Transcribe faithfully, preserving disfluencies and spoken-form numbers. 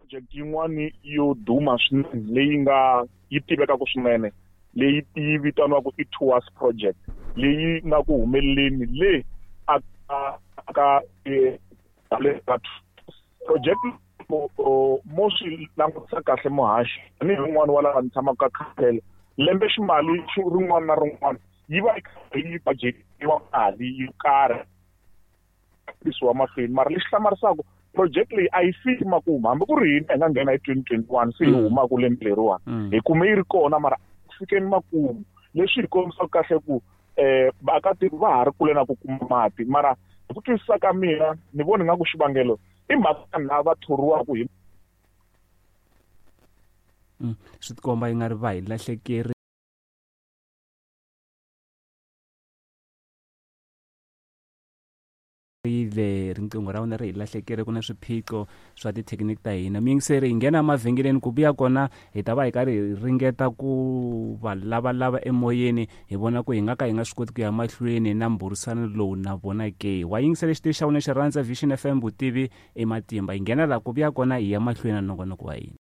Project yin'wani yo duma swinene leyi nga yi tivekaka swinene leyi yi vitaniwaka i Tours project leyi nga ku humeleleni le a ka project mo swi langutisa kahle muhaxi tanihi wun'wani wa lava ni tshamaka ka khansele lembe ximali rin'wana na rin'wana yi va yi karhi yi budgetiwa mali yo karhi yisiwa mahlweni mara lexi hlamarisaka project leyi a yi fiki makumu hambi ku ri hina hi nga nghena hi twenty twenty one se hi humaka lembe leriwani hi kume yi ri kona mara ku fikeni makumu leswi hi kombisaka kahle ku um vaakatiko va ha ri kule na ku kuma mati mara hi ku twisisa ka mina ni vona nga ku xivangelo i mhaka lava va thoriwaka hi swi tikomba yi nga ri va hi lahlekeri rile riqingho ra wena ri hi lahlekere ku na swiphiqo swa tithekiniki ta hina miyingiseri hi nghena emavhengeleni ku vuya kona hi ta va hi karhi hi ringeta ku va lavalava emoyeni hi vona ku hi nga ka hi nga swi koti ku ya mahlweni na mbhurisano lowu na vona ke wa yingisela xitichi xa wena xi rhandza Vision F M vutivi i matimba hi nghena laha ku vuya kona hi ya mahlweni na nongonoko wa hina.